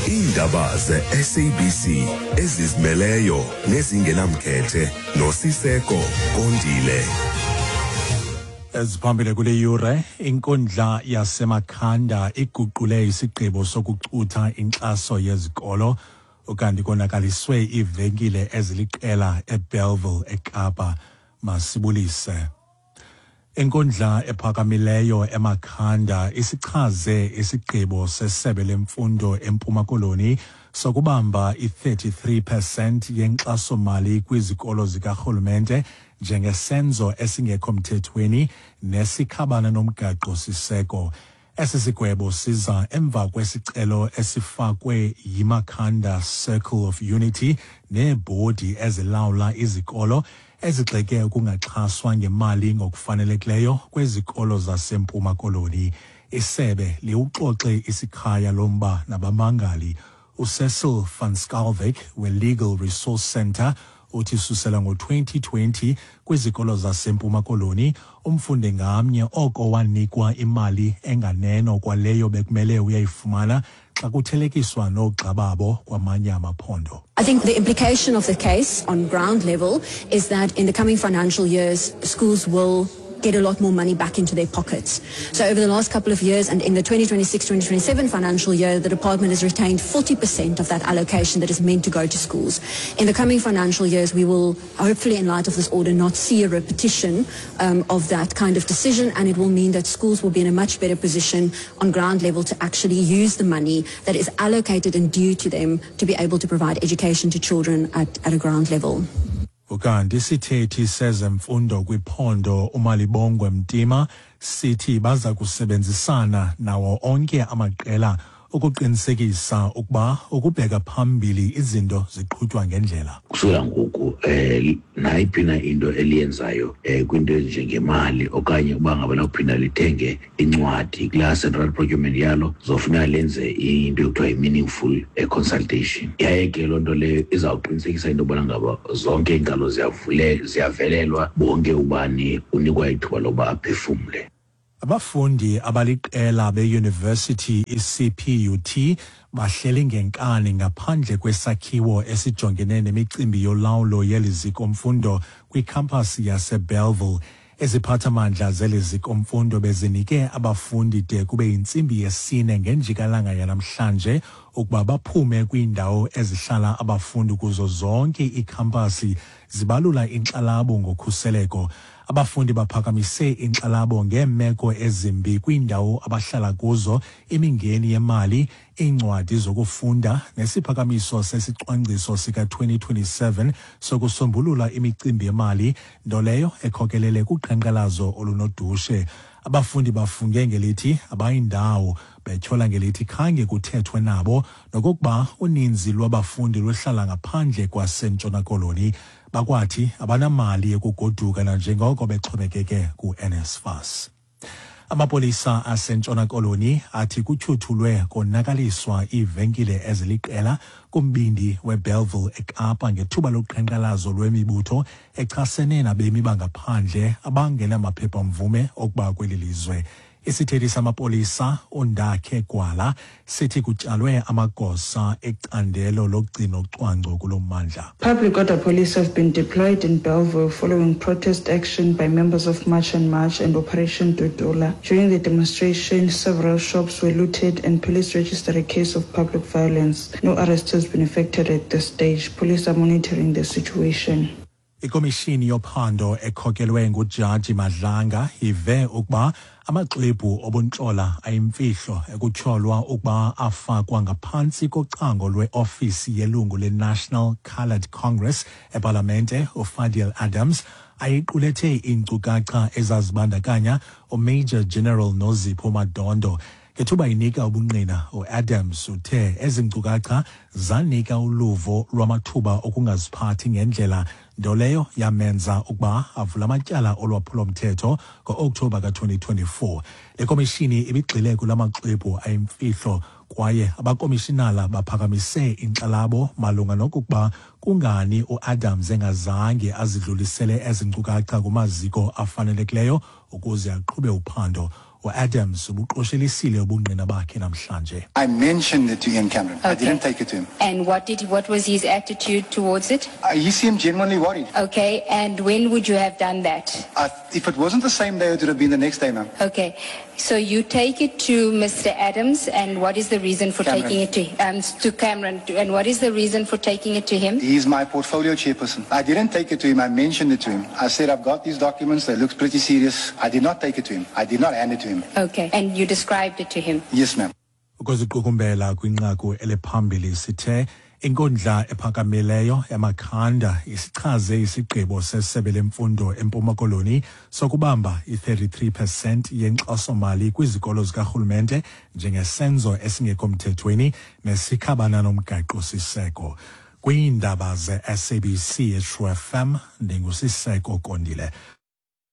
Iindaba ze-SABC ezizimeleyo nezingenamkhethe noSiseko Kondile. Eziphambili kule yure, inkundla yaseMakhanda iguqule isigqibo sokucutha inkxaso yezikolo, ukanti konakaliswe iivenkile eziliqela eBellville eKapa. Masibulise. Inkundla ephakamileyo eMakhanda isichaze isigqibo sesebe lemfundo eMpuma Koloni sokubamba i-33 percent yenkxasomali kwizikolo zikarhulumente njengesenzo esingekho mthethweni nesikhabana nomgaqo-siseko. Esi sigwebo siza emva kwesicelo esifakwe yiMakhanda Circle of Unity neebhodi ezilawula izikolo ezigxeke ukungaxhaswa ngemali ngokufanelekileyo kwezikolo zaseMpuma Koloni. Isebe liwuxoxe isikhaya lomba nabamangali. UCecil van Schalkwyk we-Legal Resource Centre uthi susela ngo-2020 kwizikolo zaseMpuma Koloni, umfundi ngamnye oko wanikwa imali enganeno kwaleyo bekumele uyayifumana xa kuthelekiswa noogxa babo kwamanye amaphondo. I think the implication of the case on ground level is that in the coming financial years, schools will get a lot more money back into their pockets. So over the last couple of years and in the 2026-2027 financial year, the department has retained 40% of that allocation that is meant to go to schools. In the coming financial years, we will hopefully, in light of this order, not see a repetition of that kind of decision, and it will mean that schools will be in a much better position on ground level to actually use the money that is allocated and due to them to be able to provide education to children at a ground level. Ukanti isithethi sezemfundo kwiphondo uMalibongwe Mtima sithi baza kusebenzisana nawo onke amaqela ukuqinisekisa ukuba ukubheka phambili izinto ziqhutywa ngendlela. Kusukela ngoku nayiphi na into eliyenzayo kwinto ezinjengemali okanye uba ngaba lawuphinda lithenge incwadi kulaa central procurement yalo, zofuneka lenze into ekuthiwa yi-meaningful consultation, yaye ke loo nto leyo izawuqinisekisa into yobana ngaba zonke iinkalo ziyavelelwa, bonke ubani unikwa ithuba lokuba aphefumle. Abafundi abaliqela beyunivesithi iCPUT bahleli ngenkani ngaphandle kwesakhiwo esijongene nemicimbi yolawulo yeli ziko-mfundo kwikhampasi yaseBellville. Eziphathamandla zeli ziko-mfundo bezinike abafundi de kube yintsimbi yesine ngenjikalanga yanamhlanje ukuba baphume kwiindawo ezihlala abafundi kuzo zonke iikhampasi, zibalula inkxalabo ngokhuseleko. Abafundi baphakamise inkxalabo ngeemeko ezimbi kwiindawo abahlala kuzo, imingeni yemali, iincwadi zokufunda nesiphakamiso sesicwangciso sika-2027 sokusombulula imicimbi yemali, nto leyo ekhokelele kuqhankqalazo olunodushe. Abafundi bafunge ngelithi abayindawo, betyhola ngelithi khange kuthethwe nabo nokokuba uninzi lwabafundi luhlala ngaphandle kwaseNtshona Koloni. Bakwathi abanamali yokugoduka nanjengoko bexhomekeke ku-NSFAS. Amapolisa aseNtshona Koloni athi kutyhuthulwe konakaliswa iivenkile eziliqela kumbindi weBellville eKapa ngethuba loqhankqalazo lwemibutho echasene nabemi bangaphandle abangenamaphepha-mvume okuba kweli lizwe. Isithethi samapolisa uNdakhe Gwala sithi kutyalwe amagosa ecandelo logcino cwangco kulo mmandla. Public order police have been deployed in Belleville following protest action by members of March and March and Operation Dudula. During the demonstration, several shops were looted and police registered a case of public violence. No arrest has been effected at this stage. Police are monitoring the situation. Ikomishini yophando ekhokelwe nguJaji Madlanga ive ukuba amaxwebhu obuntlola ayimfihlo ekutyholwa ukuba afakwa ngaphantsi kocango lweofisi yelungu le-National Coloured Congress epalamente uFadiel Adams ayiqulethe iinkcukacha ezazibandakanya uMajor General Nozipho Madondo. Ngethuba inika ubungqina, uAdams uthe ezi nkcukacha zanika uluvo lwamathuba okungaziphathi ngendlela, nto leyo yamenza ukuba avule amatyala olwaphulomthetho ngo-Okthobha ka-2024. Le komishini ibigxile kula maxwebhu ayimfihlo kwaye abakomishinala baphakamise inkxalabo malunga nokokuba kungani uAdams engazange azidlulisele ezi nkcukacha kumaziko afanelekileyo ukuze aqhube uphando. Uadams ubuqoshelisile ubungqina bakhe namhlanje. I mentioned it to Ian Cameron. I didn't take it to him. And what was his attitude towards it? He seemed genuinely worried. Okay, and when would you have done that? If it wasn't the same day, it would have been the next day, ma'am. Okay, so you take it to Mr. Adams, and what is the reason for Cameron. Taking it to Cameron? And what is the reason for taking it to him? He's my portfolio chairperson. I didn't take it to him. I mentioned it to him. I said, I've got these documents. They look pretty serious. I did not take it to him. I did not hand it to him. Okay, and you described it to him? Yes, ma'am. Ukuziqukumbela kwinqaku eliphambili sithe inkundla ephakamileyo eMakhanda isichaze isigqibo sesebe lemfundo eMpuma Koloni sokubamba i-33% yenkxasomali kwizikolo zikarhulumente njengesenzo esingekho mthethweni nesikhabana nomgaqo-siseko. Kwiindaba ze-SABC eTrue FM, ndinguSiseko Kondile.